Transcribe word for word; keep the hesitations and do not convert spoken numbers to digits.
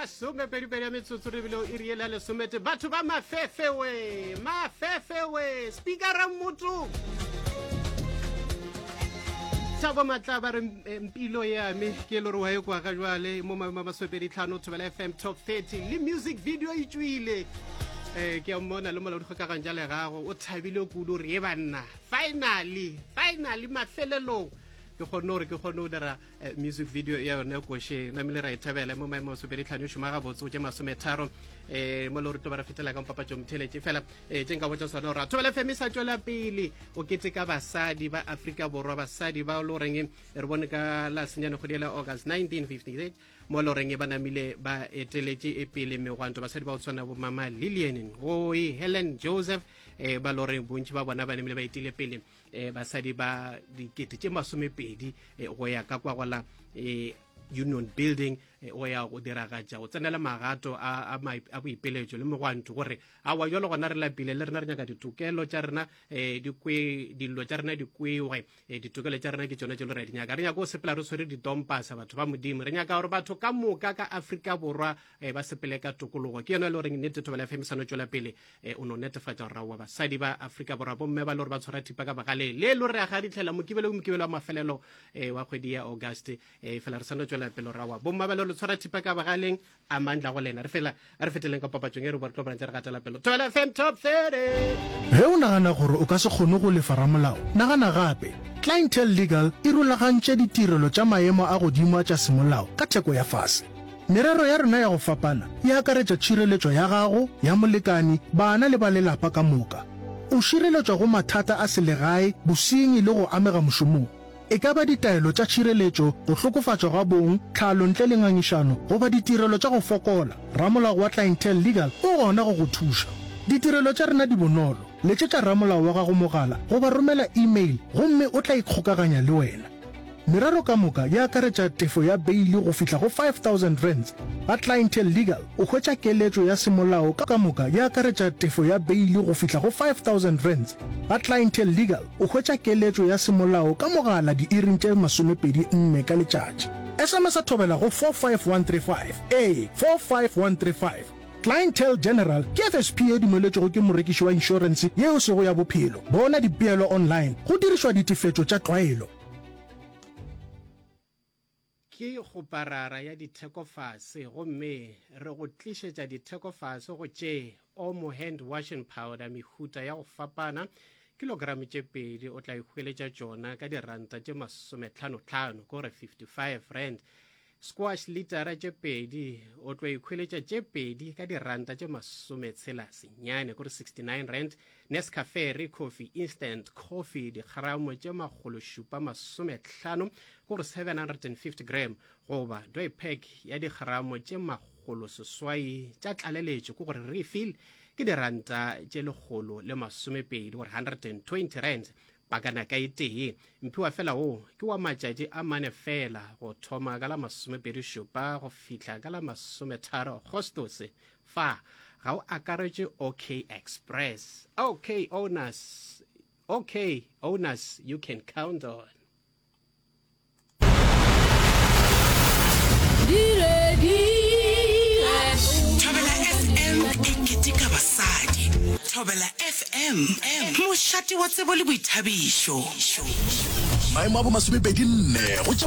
Masomepedipedi ya metsotso re bile iri yela lesomete. Batho ba mafefe we, mafefe we, speakera motho. Thabo Matlaba re eh, mpilo ya me ke le gore wa e kwa ga jwale mo ma masomepedi tlhano Thobela F M Top thirty le music video e tswile. Eh ke a mmona le molaodi kgokaganyo ja legago o thabile kudu re e banna, finally, finally, mafelelong ke kgonne gore ke kgone go dira eh, music video ya yone koše namile ra e thabela. Mo maemo a masomepedi tlhano e šoma gabotse go tše masometharo um mo le gore tlo ba re fetela ka mpapatšo motheletše fela um tše nka botša sona gore Thobela F M e sa tšwela pele o keteka basadi ba Afrika Borwa, basadi ba le goreng re bone ka la senyane kgwedi la August nineteen fifty-eight mo le goreng ba namile ba eteletše e pele megwanto, basadi ba go tshwana bo mama Lilian Ngoyi, Helen Joseph, um ba le goreng bontši ba bona ba namile ba etile pele um basadi ba dikete tše masomepedi eh, go ya ka kwa gola um Union Building eh, go ya go diragatša go tsenela magato a, a, a boipeletšo le megwanto gore awa jalo gona re lapile le rena, re nyaka ditokelo tša rena um di kwe dillo tša rena di kwewe. um ditokelo tša rena ke tšona tše le re di nyaka. Re nyaka go sepela re tshwere ditompasa, batho ba Modimo. Re nyaka gore batho ka moka ka Afrika Borwa um ba sepele ka tokologo. Ke yona e le goreng nnete Thobela F M sa no tšwela pele um o no netefatša gore raowa basadi ba Afrika Borwa, bomme ba le gore ba tshwara thipa ka bogaleng le le re aga ditlhela Mokibelo ke Mokibelo wa mafelelo um wa kgwedi ya August um fela re sa no tšwela pele raowa bomma ba le gore le tshwara thipa ka bogaleng a mandla go lena. Re fela a re feteleng ka papatšong e re bo re tlo bona tse re gatela pele. Thobela F M Top thirty. Ge o nagana gore o ka se kgone go lefa ramolao, nagana gape. Clientele Legal e rulagantše ditirelo tša maemo a godimo a tša semolao ka theko ya fase. Merero ya rena ya go fapana e akaretša tšhireletšo ya gago, ya molekani, bana le ba lelapa ka moka. O šireletšwa go mathata a selegae, bosenyi le go amega mošomong. E ka ba ditaelo tša tšhireletšo, go hlokofatšwa ga bong, tlhalo ntle le ngangišano, goba ditirelo tša go fokola, ramolao wa Clientele Legal o gona go go thuša. Ditirelo tša rena di bonolo. Letšetša ramolao wa gago mogala goba romela email gomme o tla ikgokaganya le wena. Merero ka moka e akaretša tefo ya beili go fihla go five thousand rands. Ga Clientele Legal o hwetša keletšo ya semolao ka moka e akaretša tefo ya beili go fihla go five thousand rands. Ga Clientele Legal o hwetša keletšo ya semolao ka mogala diiring tše masomepedi nne ka letšatši. S M S a Thobela go four five one three five. Ee, four five one three five. Clientele General ke F S P ye dumeletšwego ke morekiši wa inšorense ye e sego ya bophelo. Bona dipeelo online go dirišwa ditefetšo tša tlwaelo. Ke kgoparara ya ditheko fase gomme re go tlišetša ditheko fase go tše Omo hand washing powder mehuta ya go fapana, kilogramo tše pedi o tla ihweletša tšona ka diranta tše masometlhanotlhano, ke gore fifty-five rand. Squash litara tše pedi o tlo ikhweletša tše pedi ka diranta tše masometshela senyane, kore sixty-nine rand. Nescafe Ricoffy instant coffee dikgramo tše makgolo šupa masometlhano, kore seven hundred and fifty gram, goba doypack ya dikgramo tše makgolo seswai tša tlaleletšo, ke gore refill, ke diranta tše lekgolo le masomepedi, gore one hundred and twenty rand pakana ka e tee. Mphiwa fela wo ke wa matšatši a mane fela, go thoma ka la masomepedi šupa go fihla ka la masometharo Agostose. Fa ga o akaretše OK Express. OK owners, OK owners you can count on. Thobela F M e keteka basadi. Thobela F M, mošate wa tsebo le boithabišo. Maemo a bomasomepedi nne go tša